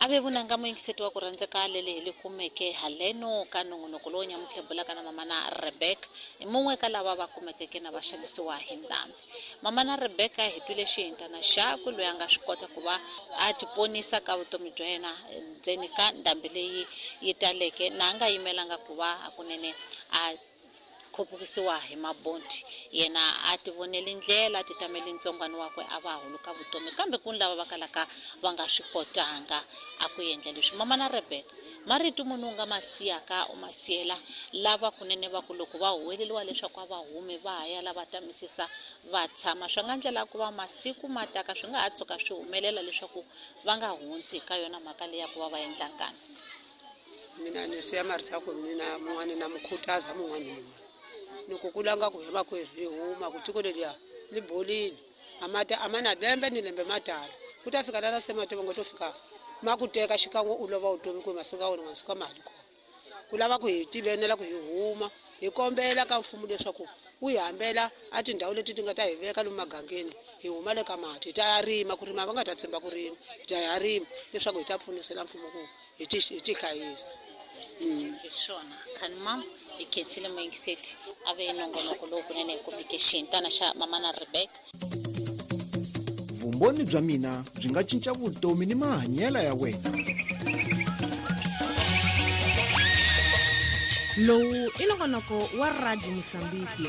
A ve vunanga muyingiseti wa ku rhandzeka lele hi li kumeke haleno ka nongonoko lowu nyamutlha bulaka na mamana Rebecca hi mun'we ka lava va kumekeke na va xanisiwa hi ndhambi. Mamana Rebecca hi twile xihintana xakwe loyi a nga swi kota ku va a tiponisa ka vutomi bya yena ndzeni ka ndhambi leyi yi taleke na a nga yimelanga ku va hakunene a khupukisiwa hi mabonti. Yena a tivoneli ndlela, a titameli ntsongwani wakwe a va huluka vutomi. Kambe ku ni lava va kalaka va nga swi kotanga a ku endla leswi. Mamana Rebeka, marito muni u nga ma siyaka u ma siyela lava kunene va ku loko va huweleriwa leswaku a va humi va ha ya la va tamisisa va tshama? Swa nga ndlela ku va masiku ma taka swi nga ha tshuka swi humelela leswaku va nga hundzi ka yona mhaka leyi ya ku va va endla nkani. Mina ni siya marito ya ku mina mun'wani na mu khutaza mun'wani ni mun'wani ni ku kula nga ku hi makwerhu hi huma ku tiko leliya li bolile a mati a ma na lembe ni lembe ma tala ku ta fika lana se mati va ngo to fika ma ku teka xikan'we u lova vutomi ku masiku ya wena masiku ma ha li kona ku lava ku hi tivenela ku hi huma hi kombela ka mfumo leswaku wu hi hambela a tindhawu leti ti nga ta hi veka lomu magangeni hi huma le ka mati hi ta ya rima ku rima va nga ta tshemba ku rima hi ta ya rima leswaku hi ta pfunisela mfumo ku hi ti hi ti hlayisa. Hi swona khani mam hi khensile muyingiseti a ve nongonoko lowu kunene hi kumeke xihintana xa mamana Rebecca. Vumbhoni bya mina byi nga cinca vutomi ni mahanyelo ya wena. Lowu i nongonoko wa Radio Mosambiki.